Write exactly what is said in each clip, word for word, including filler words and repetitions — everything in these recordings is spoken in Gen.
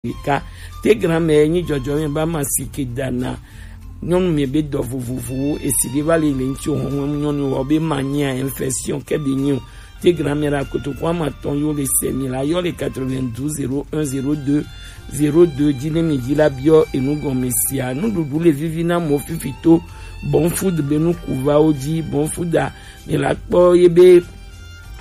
ɖeka. Te granmɛ nyi jɔjɔ mɛ ba ma si ke dana nyɔnu mɛ be dɔ vovovowo esi ɖe va le le ŋuti o hɔn nyɔnu wɔ be ma nyia infection kɛ be nyi o. Te granmɛ la kotoku ama tɔn yo le sɛ mi la yɔ le quatre-vingt-douze zéro un zéro deux zéro deux dzi ne mi dzi la biɔ enu gɔme sia. Nuɖuɖu le vivi na mɔ fifi to Bon Food be nukuvawo dzi. Bon Food a mi la kpɔ ye be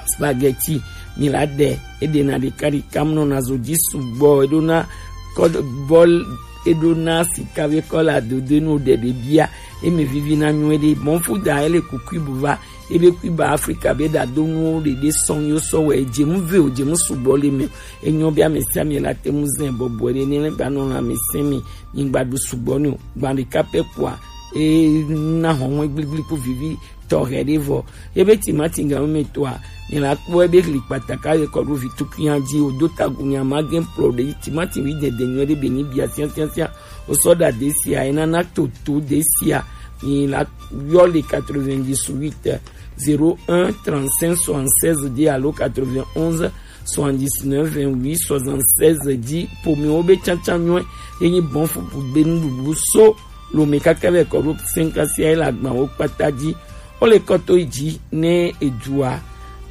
spaghetti mi la ɖe eɖena ɖeka ɖeka mu nɔna zo dzi sugbɔ eɖona kɔ bɔl eɖona sika be kɔla dodo enu ɖe ɖe bia eme vivi na nyuie ɖe. Bon Food a ele kuku buva ebe Cuba Africa be ɖado nuwo ɖeɖe sɔn yo sɔ wɛ edze nu ve o dze nu sugbɔ le me o. Enyɔ be ame sia ame la te ŋu zɛ bɔbɔe ɖe ne gba nɔ lãmesẽ me nyigba ɖu sugbɔ ne o gba ɖeka pɛ kua e na hɔnwe gbligbliku vivi tɔxɛ ɖe vɔ. Ebe timati ga me toa mi la kpɔ ebe li kpataka ye kɔ ɖo vi tukunya dzi o do tagu nya ma gen pro ɖe timati wi dede nyuie ɖe be ni bia siasiasia o sɔ ɖa de sia ena na toto de sia mi la yɔ le quatre-vingt-dix-huit zéro un trente-cinq soixante-seize dix alo quatre-vingt-onze soixante-dix-neuf vingt-huit soixante-seize dix. Pomiwo be tsantsan nyuie ye nyi Bon Food be nuɖuɖu so lome kaka vɛ kɔ ɖo sɛnkasia ye le agbawo kpata dzi. Wo le kɔ to yi dzi ne edua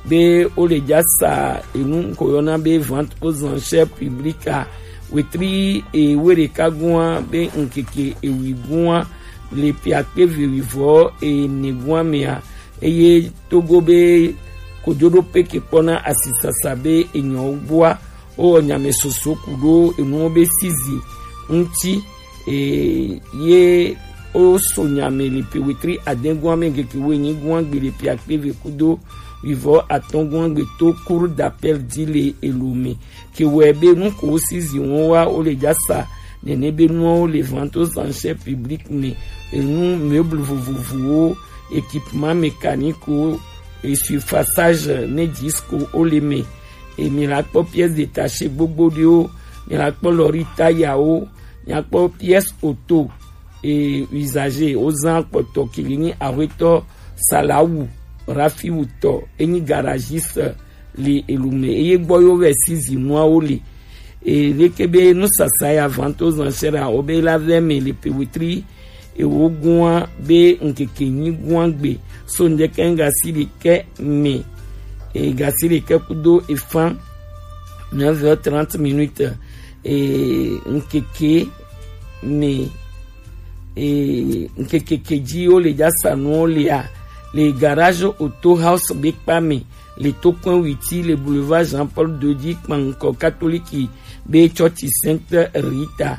be wo le dza sa enu ko yɔna be vente aux enchères publiques a wetri ewe ɖeka gua be ŋkeke ewi gua le piakpe vewivɔ ene gua mea eye togo be kojoɖo peke kpɔna asisasa be enyɔwo gbɔa wowɔ nyamɛsoso ku ɖo enuwo be sizi ŋuti. Eye woso nyamɛ le pe wetri adɛgua me ŋkeke woenyi gua gbe le pe akpeve kudo wivɔ atɔgua gbe to cour d'appel dzi le elo me. Ke wɔe be nu ko sizi ŋu wa wo le dza sa nene be nuwo le vente aux enchères publiques me, enu meuble vovovowo, équipement mécanique wo, essuie-passage ne disque wo le me. E mi la kpɔ pièce détachée gbogbo ɖewo, mi la kpɔ lɔri tayawo, mi la kpɔ pièce auto e usager wozan kpɔtɔ kili nyi ahwetɔ Salawu Rafiwu tɔ enyi garagiste le elu me eye gbɔ yo vɛ si zinuawo le. E leke be nusasa ya vente aux enchères a wo be la vɛ me le pe wetri ewo gua be ŋkeke nyi gua gbe so ŋdeke ŋgasi ɖekɛ me. E gasi ɖekɛ kudo efan neuf heures trente minutes. E ŋkeke me e ŋkeke ke dzi wo le dza sa nuwo lea le garage auto house be kpa me le tokpɛn witi le boulevard Jean Paul deux dzi kpankɔ katoliki be tsɔtsi Sainte Rita.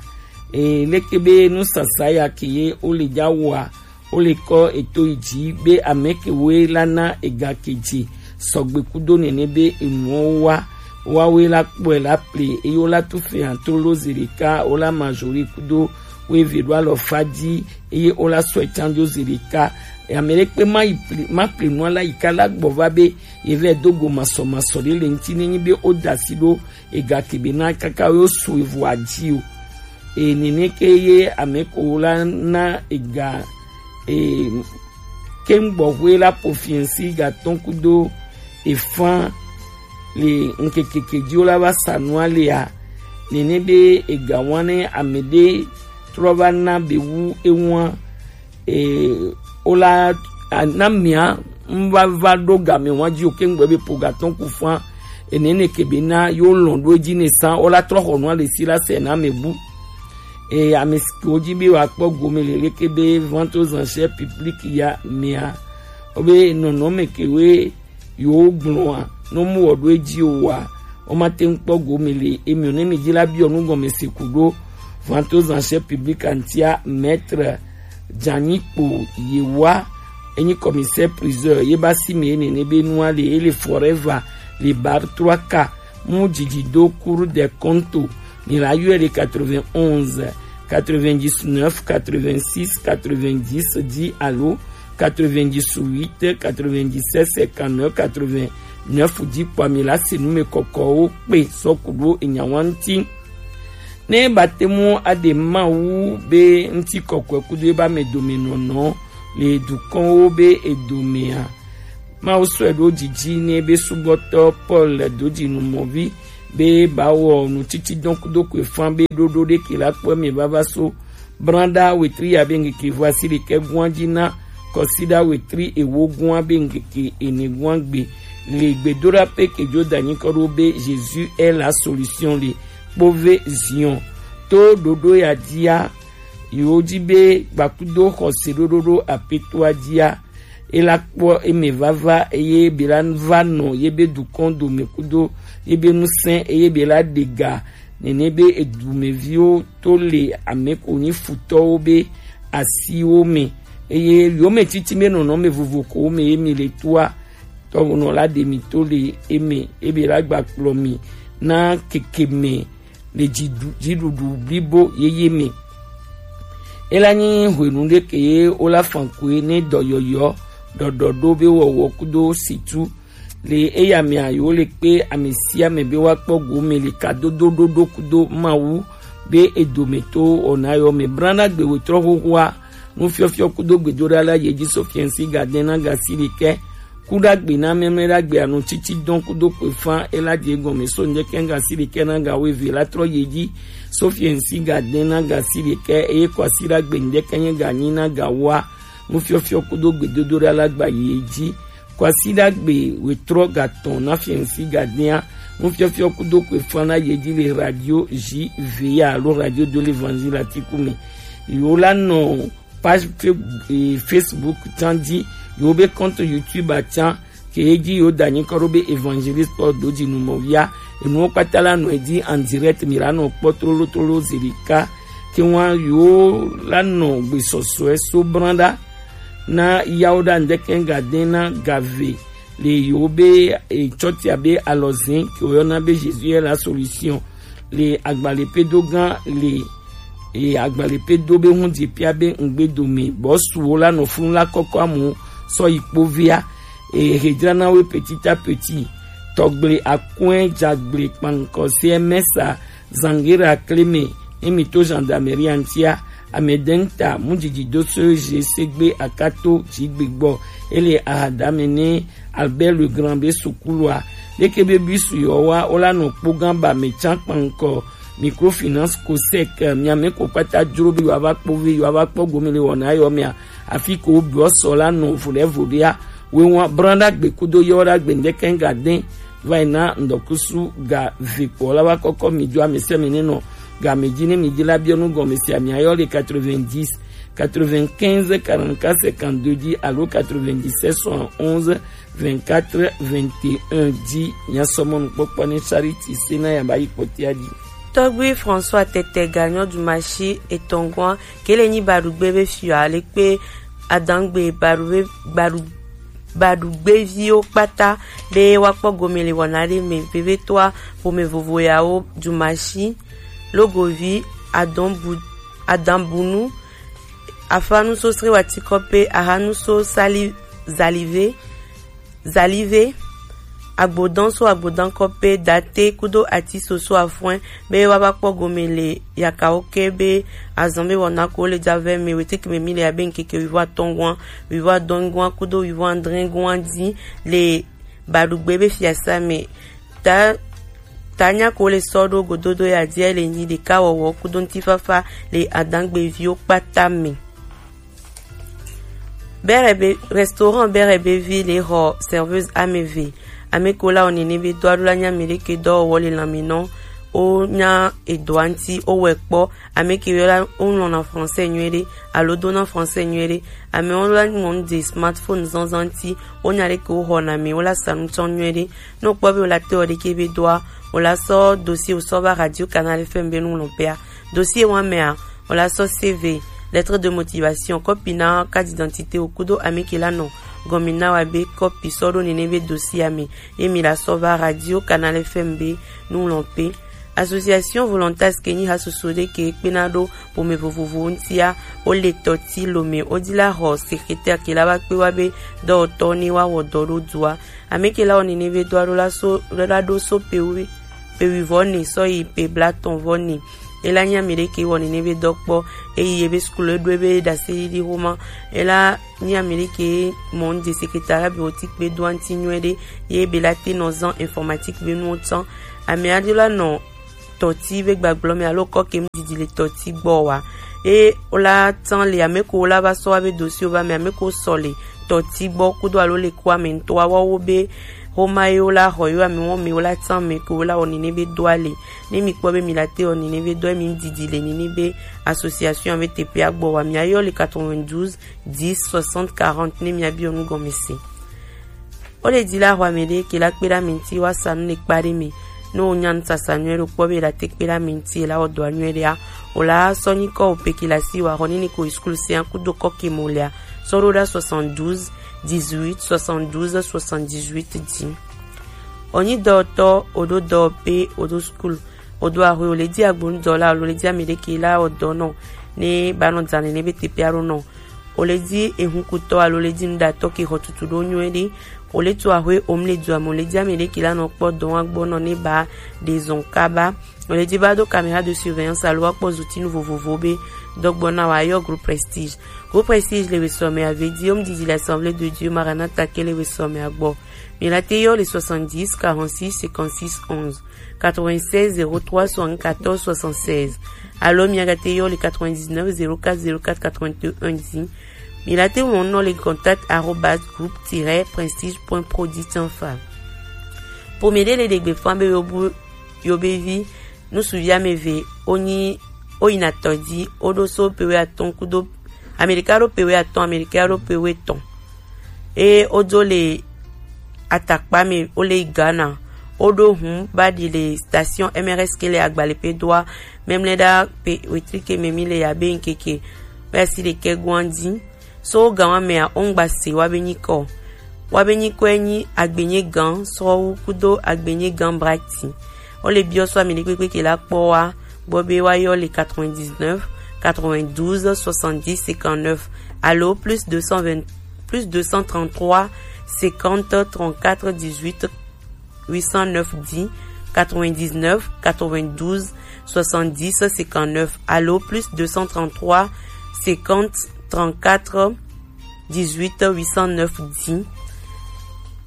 E leke be nusasa ya ke ye wo le dza wɔa wo le kɔ eto yi dzi be ame ke woe la na ega ke dze sɔgbe kudo nene be enuwo wa wa woe la kpɔe la ple eye wo la tu fɛn to lo zi ɖeka wo la majori kudo wo eve ɖo alɔ fa dzi eye wo la sɔe tsan do zi ɖeka. Ame ɖe kpe ma yi pli ma pli nua la yi ka la gbɔ va be ye vɛ do go masɔmasɔ ɖe le ŋuti ne nyi be wo da asi ɖo ega ke be na kaka wo so evo adzi o. E nene ke ye ame ko wo la na ega e keŋ gbɔ hoe la po fiɛnsi gatɔn kudo efan le ŋkekeke dzi wo la va sa nua lea nene be ega wa ne ame ɖe trɔ va na be wu ewa e wo la a- na mia ŋva va ɖo game wa dzi o ke ŋgbɛ be po gatɔn ku fa ene ne ke be na yo lɔn ɖo edzi ne sa wo la trɔ xɔ nua le si la se na me bu. E ame siwo dzi be wa kpɔ gome le leke be vente aux enchères publiques ya mea wo be nɔnɔme ke we yo gblɔa ne mu wɔ ɖo edzi o wa wo ma te ŋu kpɔ gome le emi o ne mi dzi la biɔ nu gɔme se ku ɖo vente aux enchères publiques antia maître Dzanikpo Yewa enyi commissaire priseur ye ba si me nene be nua le ele forever le bar trois k mu dzidzi do cour des comptes mi la yɔ le quatre-vingt-onze quatre-vingt-dix-neuf quatre-vingt-six quatre-vingt-dix dix alo quatre-vingt-dix-huit quatre-vingt-dix-sept cinquante-neuf quatre-vingt-neuf dzi kpɔ mi la se nu me kɔkɔwo kpe sɔ ku ɖo enya wa ŋuti. Ne ba te mu aɖe Mawu be ŋuti kɔkɔe kudo ebe ame dome nɔnɔ le dukɔnwo be edomea, Mawu sɔe ɖo dzidzi ne be subɔtɔ Paul dodzi nu mɔvi be ba wɔ nu titi dɔn kudo kwe fan be ɖoɖo ɖe ke la kpɔ me vava so branda wetri ya be ŋkeke vɔ asi ɖekɛ guan ji na kɔsiɖa wetri ewo guan be ŋkeke ene guan gbe le gbedoɖa pe ke jo da nyikɔ ɖo be Jésus est la solution le kpove Zion to ɖoɖo ya dia yewo di be gbakudo xɔse ɖoɖo ɖo apetoa dia e la kpɔ eme vava eye be la va nɔ ye be dukɔn dome kudo ye be nusɛn eye be la ɖe ga nene be edumeviwo to le ame ko nyi futɔwo be asiwo me eye yome titi be nɔnɔme vovo ko me ye mi le toa tɔwonɔ la ɖe mi to le eme ebe la gba kplɔ mi na keke me le dziɖu- dziɖuɖu blibo yeye me. Ela nyi hwenu ɖe ke ye wola fankoe ne dɔyɔyɔ ɖɔɖɔ ɖo be wɔwɔ kudo situ le eya mea yewo le kpe ame sia ame be woakpɔ gome le kadodo ɖoɖo kudo Mawu be edometɔwo wɔna yɔ me. Brana gbe wetrɔ xoxoa nufiɔfiɔ kudo gbedoɖa la ye dzi so fiɛnsi gadɛn na gasi ɖekɛ kuɖagbe na mɛmlɛɖagbe anu titi dɔn kudo kpefan ela die gɔme so ŋdɛkɛ gasi ɖekɛ na ga weve la trɔ ye dzi so fiɛnsi gadɛn na gasi ɖekɛ eye kɔasiɖagbe ŋdɛkɛ nye ganyi na ga woa nufiɔfiɔ kudo gbedodoɖa la gba ye dzi. Kɔasiɖagbe wetrɔ gatɔn na fiɛnsi gadɛa nufiɔfiɔ kudo kpefan na ye dzi le radio J V A alo radio de l'évangile atiku me. Yewo la nɔ page fe- eh, Facebook tsan dzi, yewo be compte YouTube atsan ke ye dzi yewo da nyikɔ ɖo be Evangeliste Paul Dodzi numɔvia. Enuwo kpata la nɔ edzi en direct mi la nɔ kpɔ tlolotlolo zi ɖeka ke ŋua yewo la nɔ gbesɔsɔe so branda na yawo ɖa ŋdɛkɛ gadɛn na gave le yewo be eh, tsɔtia be alɔzɛn ke woyɔna be Jésus est la solution le agbalẽ pe do gã le eye agbalẽ pe do be hun dzi pia be ŋgbe dome bɔsuwo la nɔ funu la kɔkɔ amu sɔ yi kpovia eye he dzrana wo petit à petit tɔgble akɔe dzagble kpankɔ se mɛsa zangera kleme emi to gendarmerie antia amedenta mujiji do so je segbe akato jigbe gbɔ ele ahadame ne Albert Legrand be sukulua leke be bisu yɔ wa wola nɔ kpogã ba me tsan kpankɔ microfinance cosec miame ko kpata dzro be yewoava kpɔ ve yewoava kpɔ gome le wɔna yɔ mea afi ko wobiɔ sɔ la nɔ voɖe voɖea wewa branda gbe kudo yɔ ɖa gbe ŋdɛkɛ ga dɛn va yi na ŋdɔkusu ga ve kpɔ la va kɔkɔ mi dzo ame sɛ mi ne nɔ ga me dzi ne mi dzi la biɔ nu gɔme sia mi ayɔ le quatre-vingt-dix quatre-vingt-quinze quarante-quatre cinquante-deux dzi alo quatre-vingt-dix-sept soixante-onze vingt-quatre vingt et un dzi. Nyasɔmɔnukpɔkpɔ ne Charity Sena ya ba yi kpɔtia dzi. Tɔgbi François Tete ga nyɔ dumasi etɔngɔa kele nyi baɖugbe be fiɔ ale kpe adangbe baɖugbe baɖu baɖugbeviwo kpata be woakpɔ gome le wɔna ɖe me vevetoa ƒome vovo yawo dumasi logovi adɔnbu adanbunu afa nusosre watikɔpe aha nuso sali zalive zalive agbodan so agbodan kɔpe date kudo ati soso afɔe be woava kpɔ gome le yakawo ke be azan be wɔna ko le dzavɛ me weteke me mi le abe ŋkeke wivo atɔngɔa wivo adɔngɔa kudo wivo adrɛngɔa dzi le baɖugbe be fiasa me ta tanya ko le sɔ ɖo gododo ya dia le nyi ɖeka wɔwɔ kudo ŋutifafa le adangbeviwo kpata me. Bere be restaurant bere be vi le xɔ serveuse ame eve ame ko la wɔ nene be dɔ aɖo la nya mi ɖeke dɔwɔwɔ le lãme nɔ wo nya edɔa ŋuti wo wɔ kpɔ ame ke yɔ la wo ŋlɔna français nyuie ɖe alo dona français nyuie ɖe ame wo la ŋlɔ nu de smartphone zanzan ŋuti wo nya ɖeke wo xɔna me wo la sa nu tsɔ nyuie ɖe ne wo kpɔ be wo la te wɔ ɖeke be dɔa wo la sɔ dossier wo sɔ va radio canal fm be nu ŋlɔ pea dossier wa mea wo la sɔ C V lettre de motivation kɔpi na carte d'identité wo kudo ame ke la nɔ gɔmi na wa be kɔpi sɔ ɖo nene be dossier ame ye mi la sɔ va radio canal fm be nu ŋlɔ pe. Association volontaire ke nyi hasoso ɖe ke kpena ɖo ƒome vovovowo ŋutia wo le tɔti lome wo di la xɔ secrétaire ke la va kpe wa be dɔwɔtɔ ne wa wɔ dɔ ɖo dua ame ke la wɔ nene be dɔa ɖo la so la ɖo so pe wi pe wi vɔ ne sɔ yi pe blatɔn vɔ ne ela nyi ame ɖe ke wɔ nene be dɔ kpɔ eyi ye be sukulu eɖo ebe ɖase ɖiɖi xoma ela nyi ame ɖe ke mɔ ŋde secrétariat be woti kpe do aŋti nyuie ɖe ye be la te nɔ zan informatique be nuwo tsã Ame aɖe la nɔ tɔti be gbagblɔ me alo kɔke mu didi le tɔti gbɔ wa. Eye wola tsan le ame ko wola va sɔ wa be dosi wo va me, ame ko sɔ le tɔti gbɔ kudo alo le kua me ŋutɔ wa wo be xoma ye wola xɔ yo ame wo me wola tsan me ko wola wɔ nene be doa le. Ne mi kpɔ be mi la te wɔ nene be doa mi didi le nene be association be teƒea gbɔ wa, mi ayɔ le quatre-vingt-douze dix soixante quarante ne mi abi onu gɔme se. O le di la xɔ ame ɖe ke la kpe ɖe ame ŋuti wa sa nu le kpa ɖe me. Ne o nya nu sasa nyuie ɖo kpɔ be la te kpe ɖe ame ŋuti la wɔ dɔa nyuie ɖea, o la sɔ nyikɔ o pe ke la si wa xɔ nini ko school sia kudo kɔke mo lea, sɔ ɖo ɖa soixante-douze dix-huit soixante-douze soixante-dix-huit di. O nyi dɔwɔtɔ, o ɖo dɔwɔƒe, o ɖo school, o ɖo axwe, o le di agbonu dɔla, o le di ame ɖe ke la wɔ dɔ nɔ ne ba nɔ dza nene be teƒe aɖo nɔ. O le di ehunkutɔ alo le di nuɖatɔ ke xɔ tutu ɖo nyuie ɖe. O le tu axwe o mle dua me, o le di ame ɖe ke la nɔ kpɔ dɔ wa gbɔ nɔ ne ba ɖe zɔn kaba. O le di ba do caméra de surveillance alo wa kpɔ zutinu vovovo be dɔgbɔ na wa yɔ Groupe Prestige. Groupe Prestige le wesɔ me ave di o mu didi l'Assemblée de Dieu Maranatha ke le wesɔ me agbɔ. Mi la te yɔ le soixante-dix quarante-six cinquante-six onze, quatre-vingt-seize zéro trois soixante-quatorze soixante-seize. Alo mi aga te yɔ le quatre-vingt-dix-neuf zéro quatre zéro quatre quatre-vingt-un di. Mi la te ŋlɔ nɔ le contact arobase groupe tiret prestige point pro di tiens fa. Ƒome ɖe le ɖegbe fã be yobu yobevi nusuvi ame eve wonyi woyina tɔ di, woɖo so pewe atɔ̃ kudo Amerika ɖo pewe atɔ̃, Amerika ɖo pewe etɔ̃. Eye wodzo le atakpa me, wole yi Ghana. Woɖo hun ba ɖi le station M R S ke le Agbalepe doa, memle ɖa pe wetri ke me mi le ya be ŋkeke be asi ɖekɛ goan di. So wo gan wa mea, wo ŋgba se wa be nyikɔ. Wa be nyikɔe nyi Agbenye Gan Srɔwu kudo Agbenye Gan Brati. Wo le biɔ so ame ɖekpekpe ke la kpɔ wa gbɔ be wa yɔ le quatre-vingt-dix-neuf quatre-vingt-douze soixante-dix cinquante-neuf alo plus deux cent vingt, plus deux cent trente-trois cinquante trente-quatre dix-huit huit cent neuf di, quatre-vingt-dix-neuf quatre-vingt-douze soixante-dix cinquante-neuf alo plus deux cent trente-trois cinquante trente-quatre dix-huit huit cent neuf di.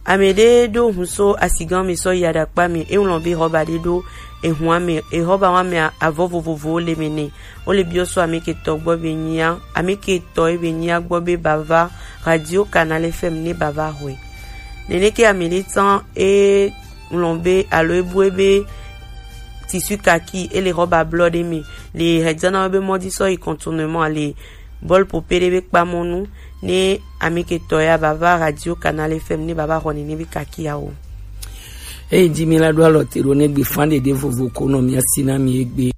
Ame ɖe ɖo hun so asigan me sɔ yi aɖakpa me, e ŋlɔ be xɔba ɖe ɖo ehun ame, exɔba wa me avɔ vovovowo le me nɛ. Wo le biɔ so ame ke tɔ gbɔ be nyia, ame ke tɔ e be nyia gbɔ be bava Radio Canal F M ne bava xɔe. Nene ke ame ɖe tsan e ŋlɔ be alo e bue be tissu kaki e le xɔba blɔ ɖe me le hedzana be mɔdi sɔ yi contournement le bɔl pope ɖe be kpamɔnu ne ame ke tɔ ya bava Radio Canal F M ne bava xɔ nene be kaki ya o. Eyi di mi la ɖo alɔ te ɖo ne gbe fan ɖeɖe vovo ko nɔ mi asi na mi egbe.